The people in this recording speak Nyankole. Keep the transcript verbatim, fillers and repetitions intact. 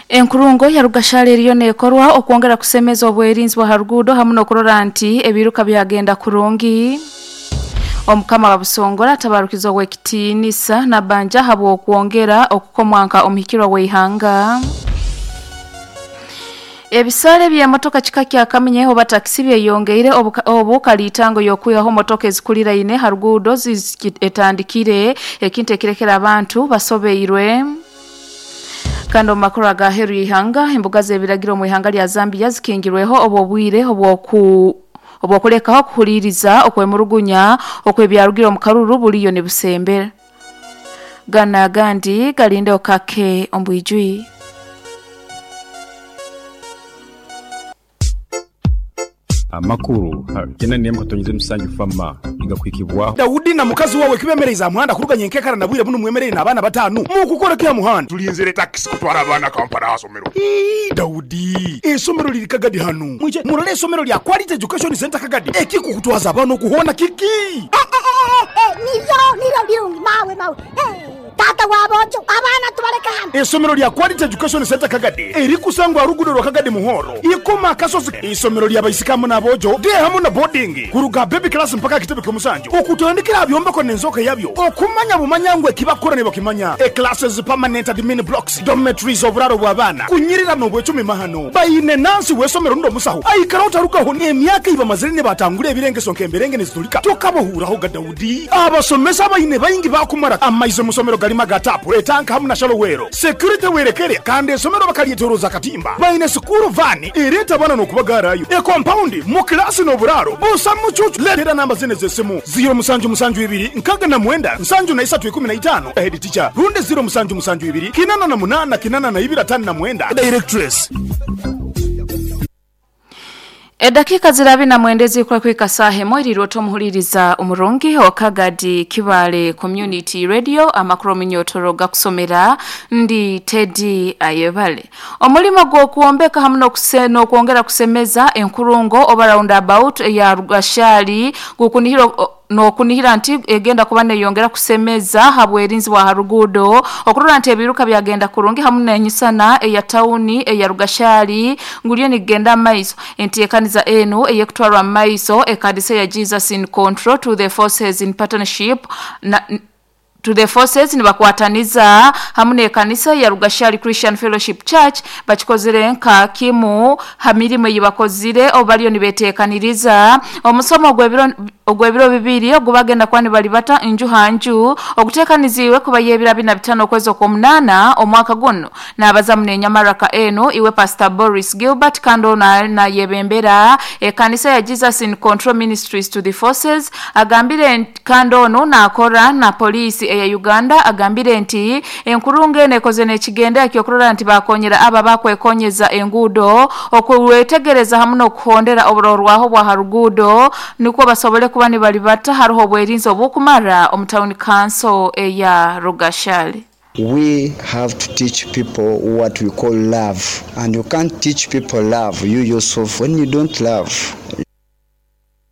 Enkurungo ya Rugashara eriyo neekorwa okwongera kusemeza obwerinzi bwa haruguudo hamu n'okurora nti ebiruka byagenda kurungi. Omukama wa Busongora atabarukiza ow'ekitiinisa Nabanja habw'okwongera okukomwanka omuhikirwa w'eihanga. Ebisale by'emotoka kika kya kaminye oba takisi byeyongeire obu kaliitango y'okwihaho motoka ezikuliraine ha ruguudo etandikire ekintu ekirekera abantu basobeirwe. Kandi omu makuru agaheeru y'eihanga, embuga z'ebiragiro omu ihanga lya Zambia zikingirweho obw'obwire obw'oku obw'okulekaho okuhuliiriza okwemurugunya okw'ebyarugire omu karuru buriyo nibusembera. Gana agandi galinde okake omu bwijwi. Amakuru gena nemu katonyeze musanju fama igakwikibwaho. Daudi na mukazi wawe kibemereza muhanda kuruganya enkekara na bwire buno mwemerere n'abaana batanu mukukora kya muhanda. Tulinzire taxi kutwara abaana Kampala asomero. Ii, Daudi, esomero liri Kagadi hanu. Mwije murole esomero lya Quality Education Center Kagadi. Ekikukutwaza abaana okuhona kiki? Niryo niryo birungi mawe mawe. Hey, tata wabojo abaana tubaleka hano. Esomero lya Quality Education Center Kagadi erikusangwa rugudo rwa Kagadi Muhoro. Ikoma akasozi isomero lya baisikamu n'abojo de hamu na boarding kuruga baby class mpaka kitebe ky'omusanju. Okutandikira byombeko n'enzoka yabyo. Okumanya bumanya ngwe kibakora ne bakimanya. E classes, permanent admin blocks, dormitories, oburaro bw'abaana. Kunyirira n'obwecumi mahano. Bayine nansi w'esomero ndo musaho. Aikara utarukaho emyaka iba mazire ne batangule ebirengeso nk'emberenge nezitulika. Tokabohuraho ga Daudi. Abasomesa bayine bayingi bakumara amaize musomero galima gatapu etanka hamu na shalowero. Security werekere kandi esomero bakalietoroza katimba. Bayine sukuru vani ereta bana n'okubagarayo. E compound mu klasi n'oburaro. Busa mucucu letera namba zine z'esimu zero musanju musanju ibiri nkaga na mwenda nsanju na isatu ikumi na itano head teacher runde zero musanju musanju ibiri kinana na munana kinana na ibiri atano na mwenda directress. Edakika zirabi na mwendezi kwa kwika sahe moiri roto muhuliriza umurungi wa Kagadi Kibale Community Radio amakuru minyotoro gakusomera ndi Teddy Ayebale. Omulimo gw'okuombeka hamu n'okwongera kusemeza enkurungo oba roundabout ya Rugashali gukunihiro nokunihira nti egenda kuba neyongera kusemeza habwerinzi bwa harugudo okurora nti ebiruka byagenda kurungi hamu n'enyisana eya tawuni eya Rugashali nguliyo nigenda maiso. Enteekaniza enu eyekutwarwa maiso ekadisa ya Jesus in Control to the Forces in partnership na to the forces nibakwataniza hamu n'ekanisa ya Rugashali Christian Fellowship Church bakikozere nka kimu hamirimo yibakozire obaliyo nibeteekaniriza omusomo ogw'ebiro ogw'ebiro bibiri ogubagenda kwani balibata nju hanju okuteekaniziwe kuba yebira bina bitano okwezi okw'omunaana omwaka guno. N'abaza munenyamaraka eno iwe Pastor Boris Gilbert kando na, na yebembera ekanisa ya Jesus in Control Ministries to the Forces agambire kando ono nakora na polisi eya Uganda agambire nti enkurungu eno ekoze n'ekigenda ekyokurora nti bakonyera aba bakwekonyeza enguudo okwetegereza hamu n'okuhondera oburorwaho bwa haruguudo nukwo basobole kuba nibalibata hariho obwerinzi obw'okumara omu town council eya Rugashali. We have to teach people what we call love. And you can't teach people love you yourself when you don't love.